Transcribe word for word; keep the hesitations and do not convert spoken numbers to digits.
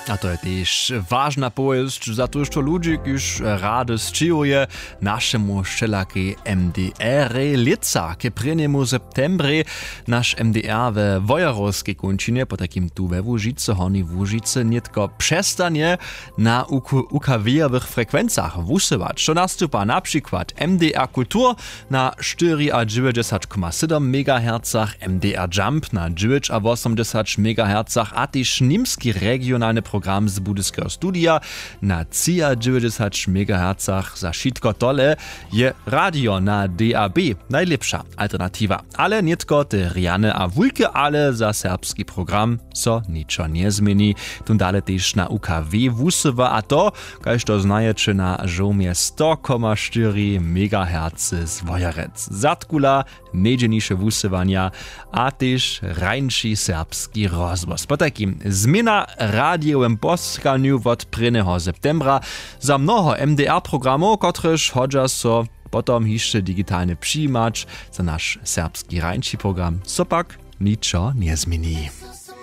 A to je tež wažna powěsć za to što ludźi kiž rady sćěhuje, našemu wšelakej mdr lětsa k prěnjemu septembrej. Naš mdr we wojerowskej kónčinje potajkim tu we łužicy hornjej łužicy nětko přestanje na ukw-, ukw-owych frekwencach wusyłać, što nastupa na přikład mdr kultur na štyriadźewjećdźesat koma sydom megahercach, mdr jump na dźewjećawosomdźesat megahercach a tež nimski regionalny program z budyskeho studija na třiadźewjećdźesat megahercach. Za wšitko tole je radio na dab najlěpša alternatiwa. Ale nětko te rjane a wulke ale za serbski program so ničo njezměni. Tón dale tež na ukw wusyła a to, kaž to znajeće, na žołmje sto koma štyri megahercy z wojerec zadkula, nejdźelniše wusyłanja a tež rańši serbski rozhłos potajkim změna w radijowym poskanju wot prěnjeho septembra. Za mnoho mdr programow kotrež hodźa so potom hišće digitalnje přijimać, za naš serbski rańši program so pak ničo njezměni.